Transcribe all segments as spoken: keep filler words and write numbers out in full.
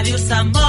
Radio Samboy.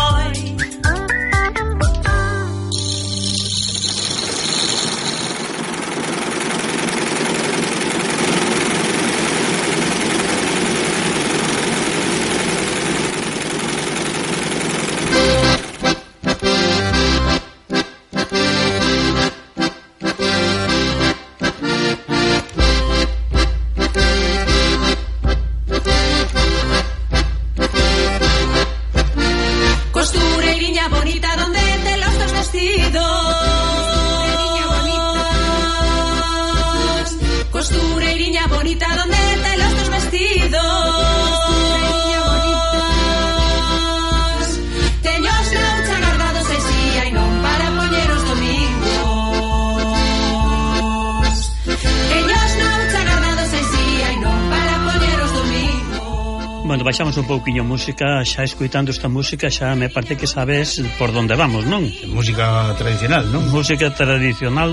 Baixamos un pouquiño música, xa escoitando esta música xa me parece que sabes por onde vamos, non? Música tradicional, non? Música tradicional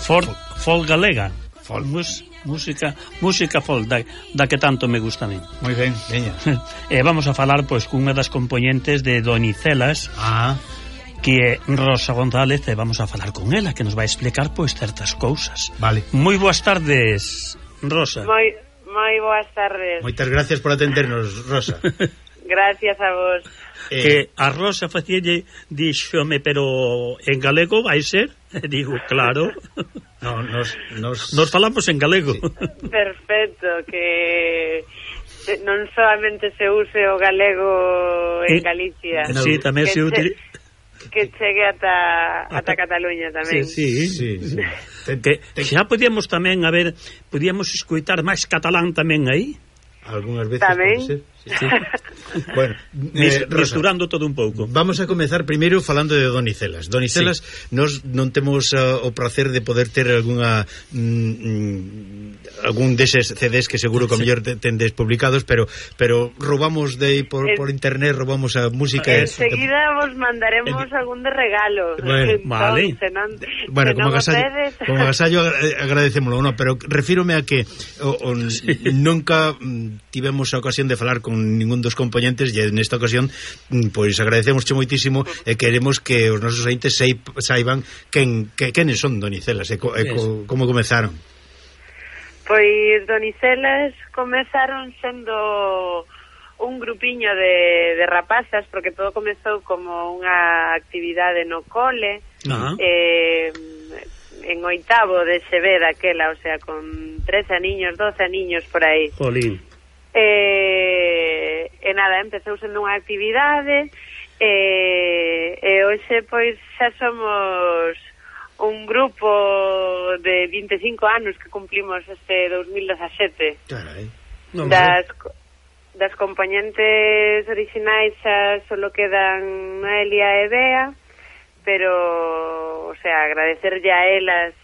folk, folk galega. Folk. Mus, música, música folk da, da que tanto me gusta a mí. Moi ben, veña. E vamos a falar pois cunha das componentes de Donicelas. Ah. Que é Rosa González, e vamos a falar con ela, que nos vai explicar pois certas cousas. Vale. Moi boas tardes, Rosa. Moi Moi boas tardes. Moitas gracias por atendernos, Rosa. Gracias a vos. Eh... Que a Rosa facíalle, díxome, pero en galego vai ser? E digo, claro. No, nos, nos... nos falamos en galego. Sí. Perfecto, que non solamente se use o galego en eh, Galicia. Sí, tamén se utiliza... Que chegue ata, ata Cataluña tamén. Sí, sí, sí, sí. Que xa podíamos tamén, a ver, podíamos escoitar máis catalán tamén aí. Algúnas veces tamén. Pode ser. Sí. Sí. Bueno, eh, misturando Rosa, todo un pouco. Vamos a comezar primeiro falando de Donicelas. Donicelas, sí. Nos non temos uh, o placer de poder ter algunha mm, algún deses C Ds que seguro que sí. mellor tendes publicados, pero pero roubamos de aí por, eh, por internet, roubamos a música. Enseguida eh, vos mandaremos eh, algún de regalo. Bueno, entonces, vale. Non, bueno, como agasallo, como agasallo agradecémoslo, no, pero refírome a que o, o, sí. nunca mm, tivemos a ocasión de falar con ningún dos componentes e nesta ocasión pois agradecemosche moitísimo e queremos que os nosos ointes saiban quen, que, quenes son Donicelas e, co, e co, como comezaron. Pois Donicelas comezaron sendo un grupiño de, de rapazas, porque todo comezou como unha actividade no cole. Uh-huh. eh, en oitavo de se ve daquela, o sea, con trece aniños, doce aniños por aí. Jolín. E, e nada, empezou sendo unha actividade e, e hoxe pois xa somos un grupo de vinte e cinco anos que cumplimos este dos mil dezasete. Carai. No, das, das componentes orixinais xa solo quedan Noelia e Bea, pero, o sea, agradecerlle a elas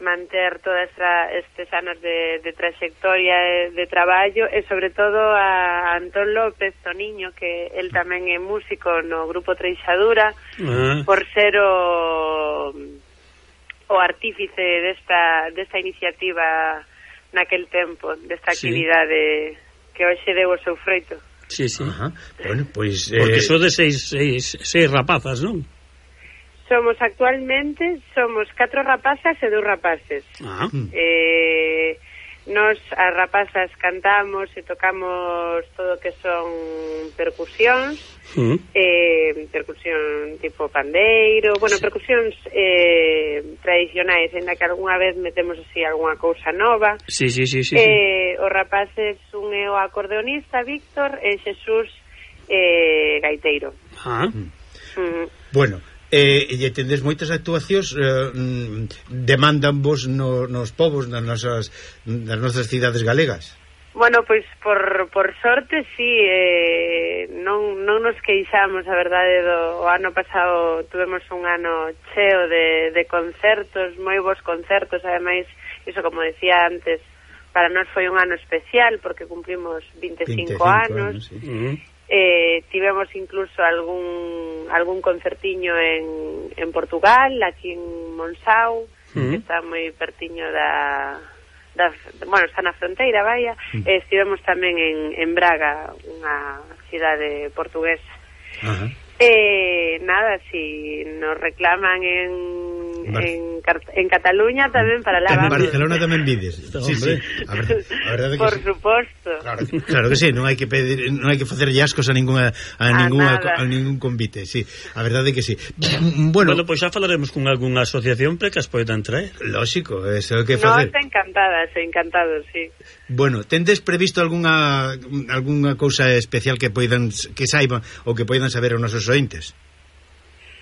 manter todos estes anos de, de trayectoria de, de traballo e sobre todo a Antón López, Toniño, que el tamén é músico no grupo Treixadura, uh-huh. por ser o o artífice desta desta iniciativa naquel tempo, desta actividade, sí. que hoxe deu o seu froito. Sí, sí. Ajá. Bueno, pois pues, porque eh... son de seis, seis, seis rapazas, non? Somos actualmente, somos catro rapazas e dous rapaces. Ah. Eh, nos, as rapazas, cantamos e tocamos todo o que son percusións, uh-huh. eh, percusión tipo pandeiro, bueno, sí. percusións eh, tradicionais, en la que algunha vez metemos así algunha cousa nova. Sí, sí, sí, sí, eh, sí. Os rapaces, un é o acordeonista, Víctor, e Xesús eh, gaiteiro. Ah. Uh-huh. Bueno, Eh, e tendes moitas actuacións eh, demandan vos no, nos povos nas nosas, nas nosas cidades galegas? Bueno, pois por, por sorte sí, eh, non, non nos queixamos, a verdade, do o ano pasado tuvemos un ano cheo de, de concertos, moi bons concertos, ademais, iso como decía antes, para nós foi un ano especial porque cumplimos vinte e cinco anos, anos sí. uh-huh. Eh, tivemos incluso algún algún concertiño en, en Portugal, aquí en Monsáu, uh-huh. que está moi pertiño da, da bueno, está na fronteira, vaya. Uh-huh. eh, estivemos tamén en, en Braga, unha cidade portuguesa. Ajá. Eh, nada, si nos reclaman en Bar en, en Cataluña tamén para lá. En Barcelona tamén vides. Sí, sí. A verdade, a verdade que por sí. suposto. Claro, claro que sí, non hai que pedir, non hai que facer ascos a ninguna a, a ninguna a ningún convite, sí. A verdade que sí. Bueno, bueno, pois pues xa falaremos con algunha asociación para que as poidan traer. Lógico, eso é o que No, facer. está encantada, está encantado, sí. Bueno, tendes previsto algunha algunha cousa especial que poidan que saiban ou que poidan saber os nosos ointes?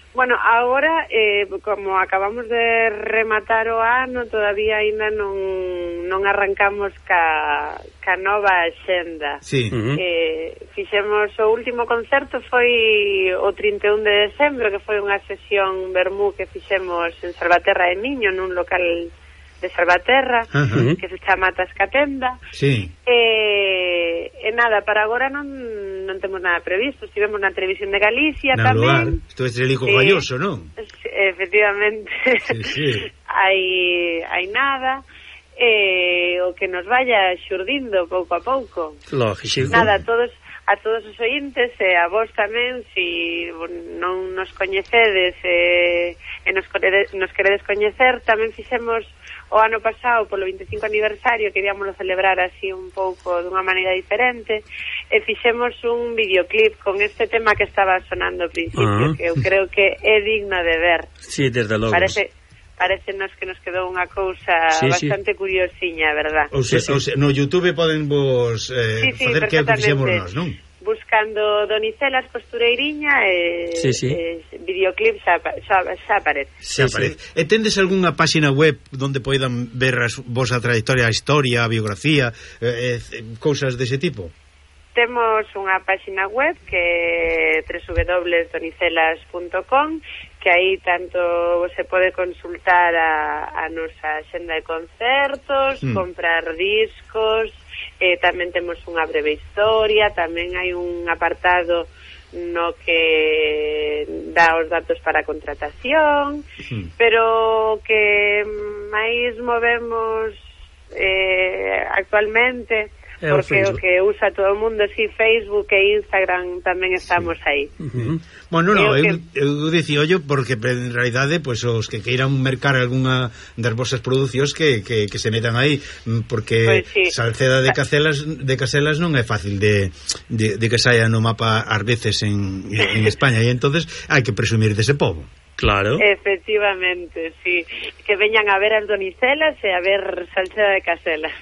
Bueno, agora, eh, como acabamos de rematar o ano, todavía aínda non, non arrancamos ca, ca nova axenda. Sí. Uh-huh. Eh, fixemos o último concerto foi o trinta e un de decembro, que foi unha sesión vermú que fixemos en Salvaterra de Miño, nun local de Salvaterra, uh-huh. que se chama Tascatenda. Sí. Eh, e nada, para agora non non temos nada previsto. Estivemos na televisión de Galicia na tamén. Estuve Estrelico sí. Galloso, non? Efectivamente. Sí, sí. hai, hai nada. Eh, o que nos vaya xurdindo pouco a pouco. Lógico. Nada, a todos a todos os ointes e a vos tamén, si non nos coñecedes e, e nos, nos queredes coñecer, tamén fixemos o ano pasado polo vinte e cinco aniversario, queríamoslo celebrar así un pouco dunha maneira diferente, e fixemos un videoclip con este tema que estaba sonando ao principio, uh-huh. que eu creo que é digno de ver. Sí, desde logo. Parece Parecenos que nos quedou unha cousa sí, bastante sí. curiosiña, verdad? Ou se, sí, sí. Ou se, no YouTube poden vos eh, sí, sí, facer que fixemos nós, non? Buscando Donicelas Costureiriña e sí, sí. eh, videoclip xa, xa, xa aparece. Sí, aparece. Sí. E tendes algunha páxina web onde poidan ver as, vos a trayectoria, a historia, a biografía, eh, eh, cousas dese tipo? Temos unha páxina web que é doble u doble u doble u punto donicelas punto com, que aí tanto se pode consultar a, a nosa xenda de concertos, mm. comprar discos, eh, tamén temos unha breve historia, tamén hai un apartado no que dá os datos para a contratación, mm. pero que máis movemos eh, actualmente, porque o que usa todo o mundo, si Facebook e Instagram tamén estamos sí. aí. Uh-huh. Bueno, no, eu, que... eu dicía yo porque en realidade pues, os que queiran mercar algunha das vosas producións que, que, que se metan aí, porque pues sí. Salceda de Caselas de Caselas non é fácil de, de, de que saia no mapa ás veces en, en España, e entonces hai que presumir dese pobo. Claro. Efectivamente, sí. Que veñan a ver as Donicelas e a ver Salceda de Caselas.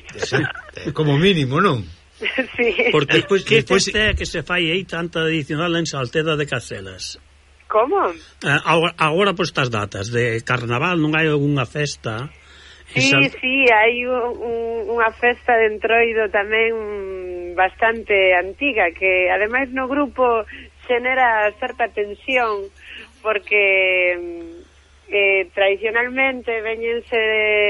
Como mínimo, non? Sí. Porque despois que despois é que se fai aí tanta adicional en Salceda de Caselas. Como? Eh, agora, agora por estas datas de carnaval non hai algunha festa? Sí, Sal... sí, hai un, un, unha festa de Entroido tamén bastante antiga, que ademais no grupo xenera certa tensión, porque eh, tradicionalmente veñense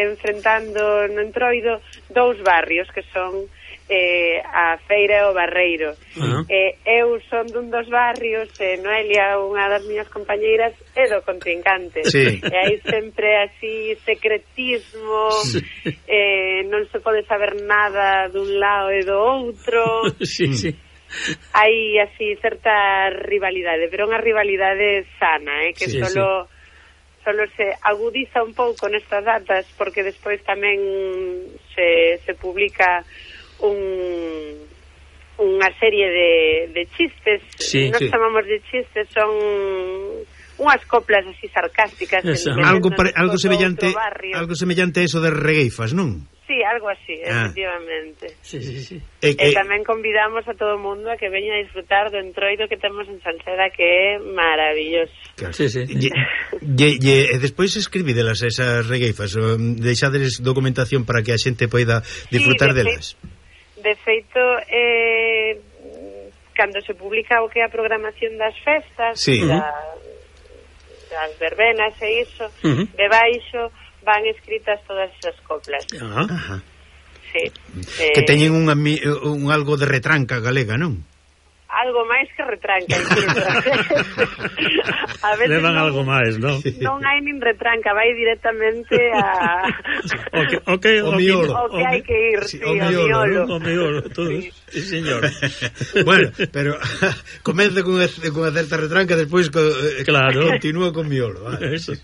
enfrentando no Entroido dous barrios que son eh, a Feira e o Barreiro. Uh-huh. eh, eu son dun dos barrios e Noelia, unha das miñas compañeiras, é do contrincante. Sí. E hai sempre así secretismo, sí. eh, non se pode saber nada dun lado e do outro. Sí, sí. Hai así certa rivalidade, pero unha rivalidade sana, eh, que sí, solo sí. solo se agudiza un pouco nestas datas, porque despois tamén se, se publica un unha serie de, de chistes, sí, nos sí. chamamos de chistes, son unhas coplas así sarcásticas, algo pare, algo semellante, algo semellante a eso de regueifas, non? Sí, algo así, ah. efectivamente. Sí, sí, sí. E, e tamén convidamos a todo o mundo a que veña a disfrutar do Entroido que temos en Salceda, que é maravilloso. Claro. Sí, sí. E, e, e, e despois escribidelas esas regueifas, deixades documentación para que a xente poida disfrutar sí, de delas. Fe, de feito, eh, cando se publica o que é a programación das festas, sí. da, das verbenas e iso, uh-huh. debaixo van escritas todas esas coplas. Ajá. Sí. Que eh, teñen un, un algo de retranca galega, non? Algo máis que retranca. A veces levan non, algo máis, non? Non hai nin retranca, vai directamente a o que, o que, o miolo. O que hai que ir, sí, o miolo. O miolo, todos. Sí. Sí, señor. Bueno, pero comece con unha certa retranca, despois co, claro. continúa con miolo, vale. Eso.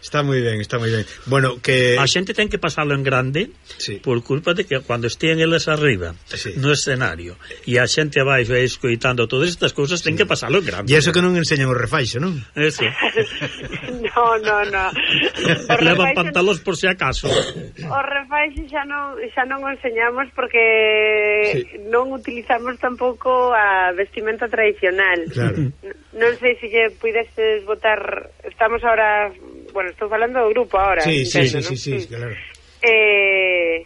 Está moi ben, está moi ben. Bueno, que a xente ten que pasalo en grande, sí, por culpa de que cando estén eles arriba, sí, no escenario, e a xente abaixo aí escoitando todas estas cousas, ten sí, que pasalo en grande. E iso que non enseñan o refaixo, non? Eso. No, no, no. Levan pantalóns por si acaso. O refaixo xa non, xa non o enseñamos porque sí, non utilizamos tampouco a vestimenta tradicional. Claro. Non sei se lle puidestes botar, estamos ahora, bueno, estou falando do grupo ahora. Sí, sí, entendo, sí, ¿no? sí, sí, claro. Eh,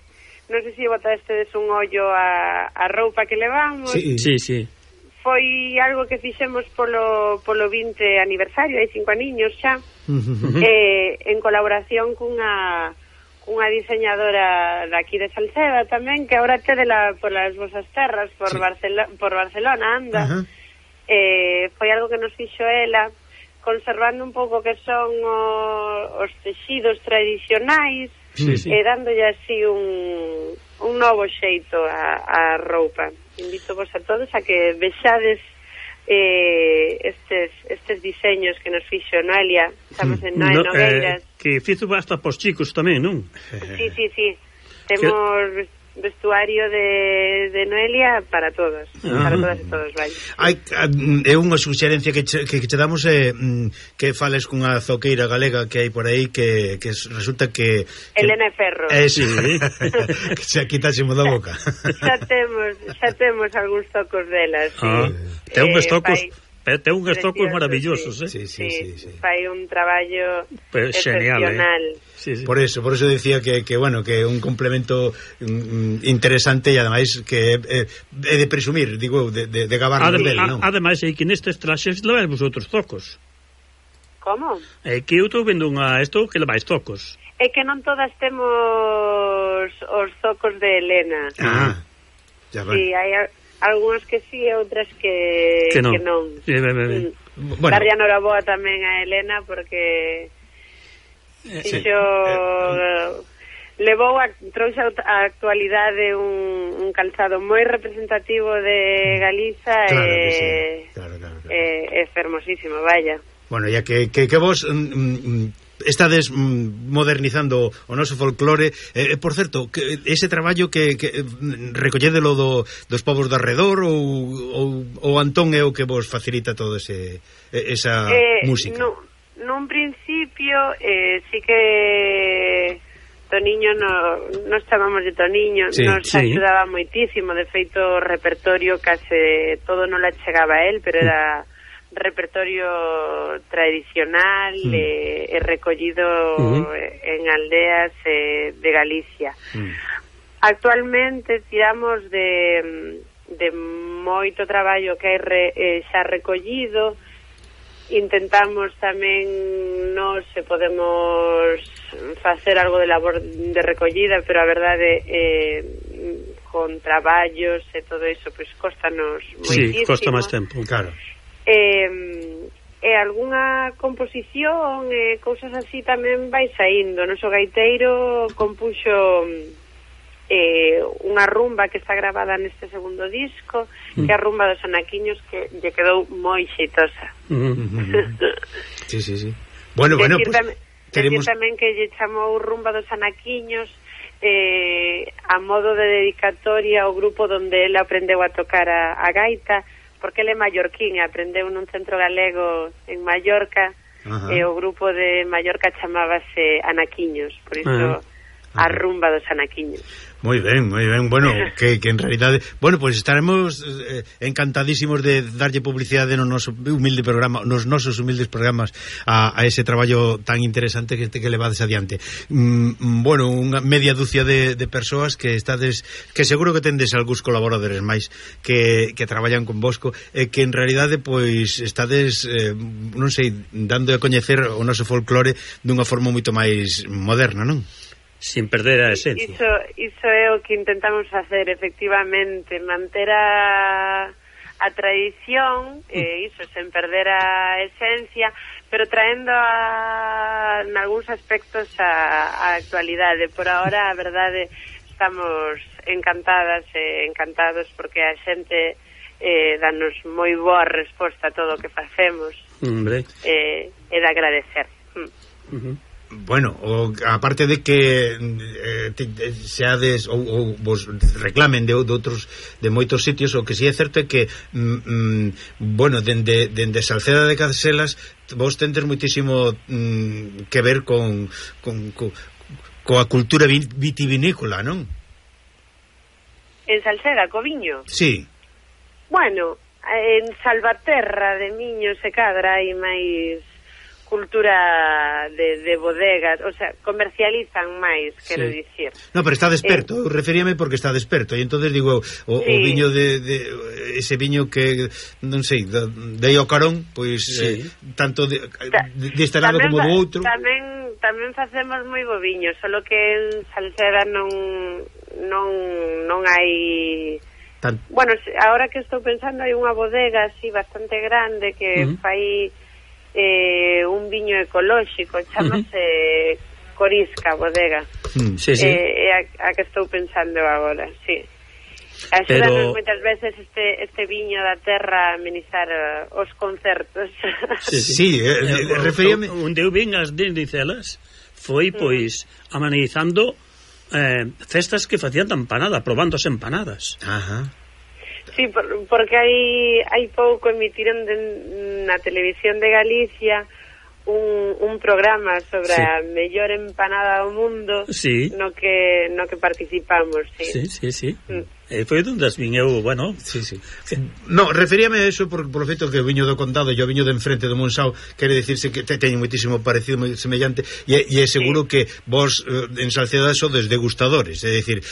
non sei se lle botastes un ollo a, a roupa que levamos. Sí, sí, sí. Foi algo que fixemos polo, polo vinte aniversario, hai cinco aniños xa, uh-huh, eh, en colaboración cunha unha diseñadora daqui de Salceda tamén, que agora tede la, por las vosas terras, por, sí, Barcelo, por Barcelona, anda. Uh-huh. Eh, foi algo que nos fixo ela, conservando un pouco que son o, os texidos tradicionais, sí, sí, e dándolle así un, un novo xeito a, a roupa. Invito vos a todos a que vexades eh, estes estes diseños que nos fixo Noelia. Estamos en Noe no, Nogueiras, eh, que fizo hasta pos chicos tamén, non? Sí, sí, sí. Temos que vestuario de, de Noelia para todos, ah, para todas e todos, vai. Hai, é unha suxerencia que che, que che damos é eh, que fales cunha zoqueira galega que hai por aí que, que resulta que, que Elena Ferro. É, sí, que se quitásemos da boca. Xa temos, xa temos algúns tocos delas. Ah, sí. Ten uns eh, tocos fai... Ten uns estocos maravillosos, sí, eh? Sí, sí, sí, sí, sí. Fai un traballo pues excepcional. Eh? Sí, sí. Por eso, por eso decía que, que bueno, que é un complemento mm, interesante e ademais que é, é de presumir, digo, de, de, de gabarnos Adem, del, non? Ademais, é que nestes traxes levais vosotros tocos. Como? É que eu estou vendo unha isto que levais tocos. É que non todas temos os tocos de Elena. Ah, ya vai. Sí, hai algúns que sí e outras que, que non. Que non. Sí, ben, ben, ben. Mm. Bueno. Darlle a noraboa tamén a Elena porque eh, sí. Xo, eh, levou a, trouxe a actualidade un, un calzado moi representativo de Galiza. Claro e, que sí. Claro, claro, claro. É, é fermosísimo, vaya. Bueno, ya que, que, que vos mm, estades modernizando o noso folclore, eh, por certo, que ese traballo que, que recollédelo do, dos povos do arredor ou, ou, ou Antón é o que vos facilita todo ese esa eh, música? No, nun principio eh, sí que Toniño no, nos chamamos de Toniño, sí, nos sí. Axudaba moitísimo, de feito o repertorio case todo non la chegaba a él, pero era repertorio tradicional mm. e, e recollido uh-huh. en aldeas eh, de Galicia. Mm. Actualmente tiramos de, de moito traballo que hai re, eh, xa recollido. Intentamos tamén nos se podemos facer algo de labor de recollida, pero a verdade eh, con traballos e todo iso pois pues, costanos moitísimo. Sí, costa máis tempo, claro. E, e algunha composición e cousas así tamén vai saindo. O noso gaiteiro compuxo eh, unha rumba que está grabada neste segundo disco, mm. que é a rumba dos anaquiños, que lle quedou moi xeitosa. Mm-hmm. Sí, sí, sí. Bueno, bueno, decir, pues tamén, queremos... tamén que lle chamou rumba dos anaquiños eh, a modo de dedicatoria ao grupo donde ele aprendeu a tocar a, a gaita, porque ele é mallorquín, aprendeu nun centro galego en Mallorca. Ajá. E o grupo de Mallorca chamábase Anaquiños, por iso ajá. A rumba dos anaquiños. Moi ben, moi ben. Bueno, que, que en realidade, bueno, pois pues estaremos eh, encantadísimos de darlle publicidade no noso humilde programa, nos nosos humildes programas a, a ese traballo tan interesante que que levades adiante. Mm, bueno, unha media dúcia de, de persoas que estades, que seguro que tendes algúns colaboradores máis que, que traballan con vosco e que en realidade pois estades eh, non sei, dando a coñecer o noso folclore dunha forma moito máis moderna, non? Sin perder a esencia. Iso, iso é o que intentamos facer, efectivamente, manter a, a tradición, e iso, sen perder a esencia, pero traendo a, en algúns aspectos a, a actualidade. Por ahora, a verdade, estamos encantadas e encantados porque a xente eh, danos moi boa resposta a todo o que facemos. Hombre. Eh, é de agradecer. Mm. Uh-huh. Bueno, o, aparte de que eh, te, seades ou, ou vos reclamen de, de outros de moitos sitios, o que si sí é certo é que mm, mm, bueno, dende, dende Salceda de Caselas vos tendes moitísimo mm, que ver con, con, con coa cultura vitivinícola, non? En Salceda, co viño? Sí. Bueno, en Salvaterra de Miño se cadra hai máis cultura de, de bodegas, o sea, comercializan máis, quero sí. dicir. No, pero está desperto, eh, referíame porque está desperto, e entonces digo, o, sí. o viño de, de ese viño que non sei, de, de o carón, pois sí. eh, tanto de, de, de este lado como do outro. Tamén tamén facemos moi bo viño, solo que en Salceda non non non hai Tan... Bueno, agora que estou pensando hai unha bodega así bastante grande que uh -huh. fai Eh, un viño ecolóxico, chamase uh -huh. Corisca bodega. Mm, sí, sí. Eh, a, a que estou pensando agora, sí. Axudanos Pero... moitas veces este este viño da terra a amenizar uh, os concertos. Sí, sí. sí eh, eh, referíame... Onde eu vin as Denicelas foi, pois, mm. amenizando eh, festas que facían de empanada, probando as empanadas. Ajá. Sí, por, porque hai hai pouco emitiron de, na televisión de Galicia un, un programa sobre sí. a mellor empanada do mundo sí. no que no que participamos, sí. Sí, sí, sí. Mm. Eh, foi onde as vin eu, bueno, sí, sí. No, referíame a eso por, por o feito que o viño do Condado e o viño de enfrente do Monsao quere dicirse que te, teñen moitísimo parecido, moi semellante, e, e é seguro sí. que vos en Salceda sodes degustadores, é dicir,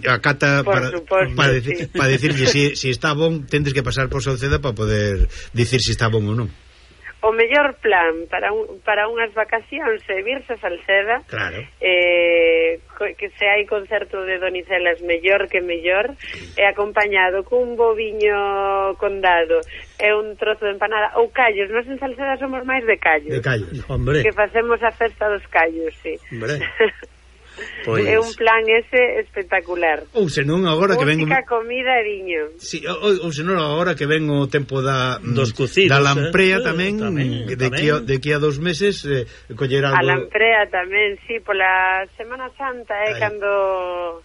a cata por para, suposto, para, decir, sí. para decirlle si, si está bon, tendes que pasar por Salceda para poder dicir si está bon ou non. O mellor plan para un, para unhas vacacións é virse a Salceda, claro. eh, que se hai concerto de Donicelas mellor que mellor, e acompañado cun bo viño Condado e un trozo de empanada ou callos. Nós en Salceda somos máis de callos, de callos. Hombre. Que facemos a festa dos callos, sí. Hombre. Pois... É un plan ese espectacular. Ou senón agora que ven música, comida e viño. Sí, ou, ou senón agora que ven o tempo da dos cocidos, da lamprea eh? tamén, tamén, de, tamén. Que a, de que a dos meses eh, coller algo. A lamprea tamén, sí, pola Semana Santa é eh, cando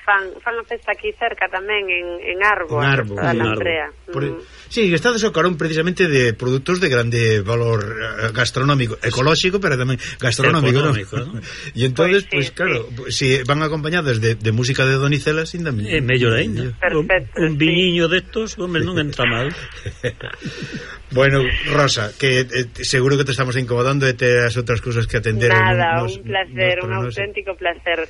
fan, fan a festa aquí cerca tamén en, en Arbo, en Arbo, a lamprea. Por, mm. Sí, estades ao carón precisamente de produtos de grande valor gastronómico, ecolóxico, pero tamén gastronómico, ¿no? ¿no? E entonces, pues, sí, pues claro, sí. si van acompañadas de, de música de Donicelas, ainda é mellor ainda. Perfecto, un, un viñiño sí. destos, home, non entra mal. Bueno, Rosa, que eh, seguro que te estamos incomodando e te as outras cousas que atender. Nada, nos, un placer, nos, un auténtico placer.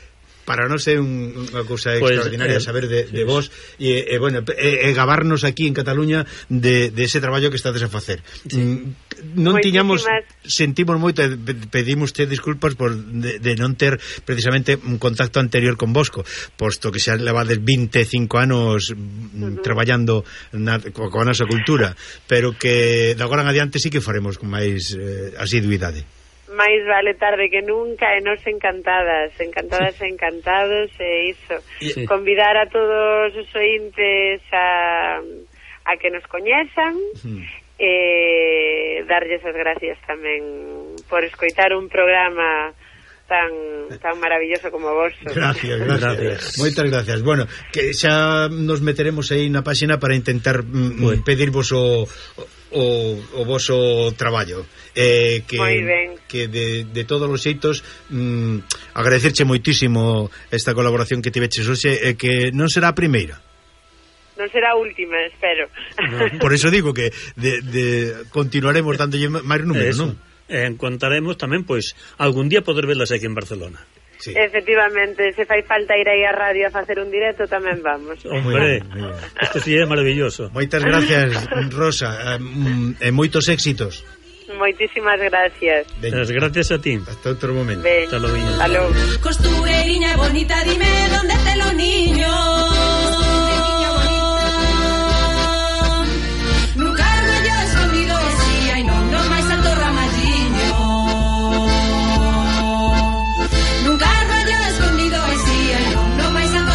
Para non ser un, unha cousa pues, extraordinaria eh, saber de, de sí, vos e, eh, bueno, e, e gabarnos aquí en Cataluña de, de ese traballo que estades a facer. Sí. Mm, non tiñamos, sentimos moito, pedimos te disculpas por de, de non ter precisamente un contacto anterior con Bosco, posto que xa levades vinte e cinco anos uh-huh. traballando na, coa, coa nosa cultura, pero que de agora en adiante sí que faremos con máis eh, asiduidade. máis vale tarde que nunca e nos encantadas, encantadas e encantados e iso, sí. Convidar a todos os ointes a, a que nos coñezan sí. E darlles as gracias tamén por escoitar un programa tan tan maravilloso como vos. Gracias, gracias, gracias. Moitas gracias. Bueno, que xa nos meteremos aí na páxina para intentar mm, pedirvos o o, o voso traballo eh, que, que de, de todos os xeitos mm, agradecerche moitísimo esta colaboración que tiveches hoxe e que non será a primeira. Non será a última, espero. No, por eso digo que de, de continuaremos dándolle máis números, non? Eh, contaremos tamén, pois, algún día poder velas aquí en Barcelona. Sí. Efectivamente, se fai falta ir aí á radio a facer un directo, tamén vamos. Hombre, isto sí é maravilloso. Moitas gracias, Rosa, e moitos éxitos. Moitísimas gracias. As gracias a ti. Hasta outro momento. Ben. Hasta logo. Hasta logo. Costureiriña bonita, dime dónde te los niños. Nunca rollo escondido, sí, ay, no, no vais a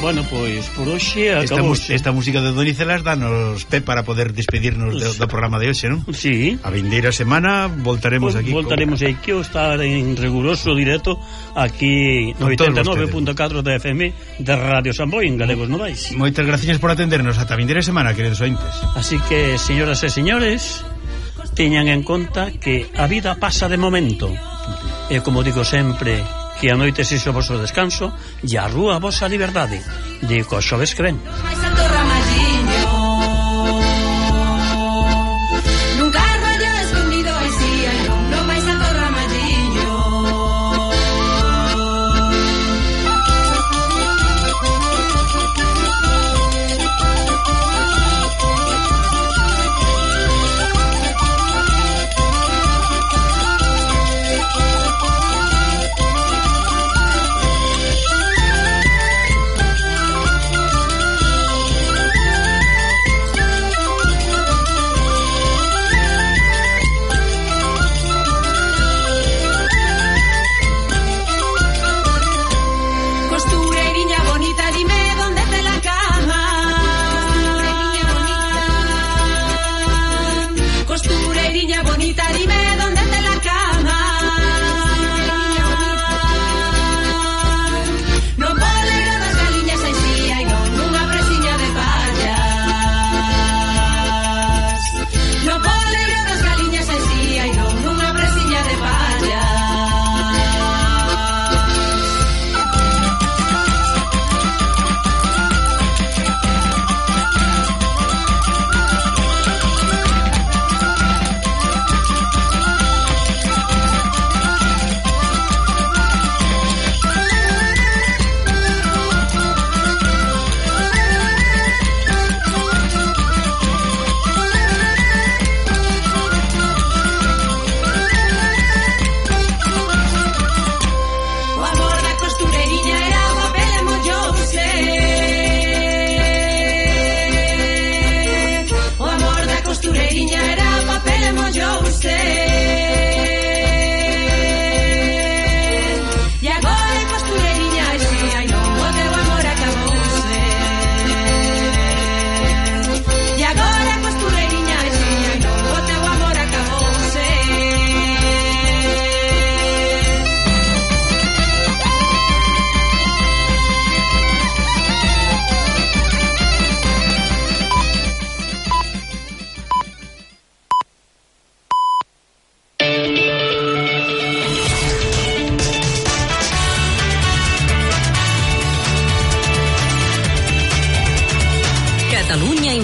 Bueno, pois por hoxe esta, acabou. esta música de Donicelas danos pé para poder despedirnos do, do programa de hoxe, non? Sí. A vindeira semana voltaremos pues, aquí. Voltaremos con... aquí, o estar en riguroso directo aquí no oitenta e nove punto catro de F M de Radio Samboy en Galegos Novais. Moitas gracias por atendernos. Ata a vindeira semana, queridos ointes. Así que, señoras e señores, teñan en conta que a vida pasa de momento. E como digo sempre, que a noite se o vosso descanso e a rúa a vosa liberdade. Digo, xoves que ven.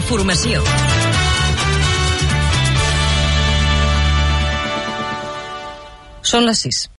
Informació. Són les sis.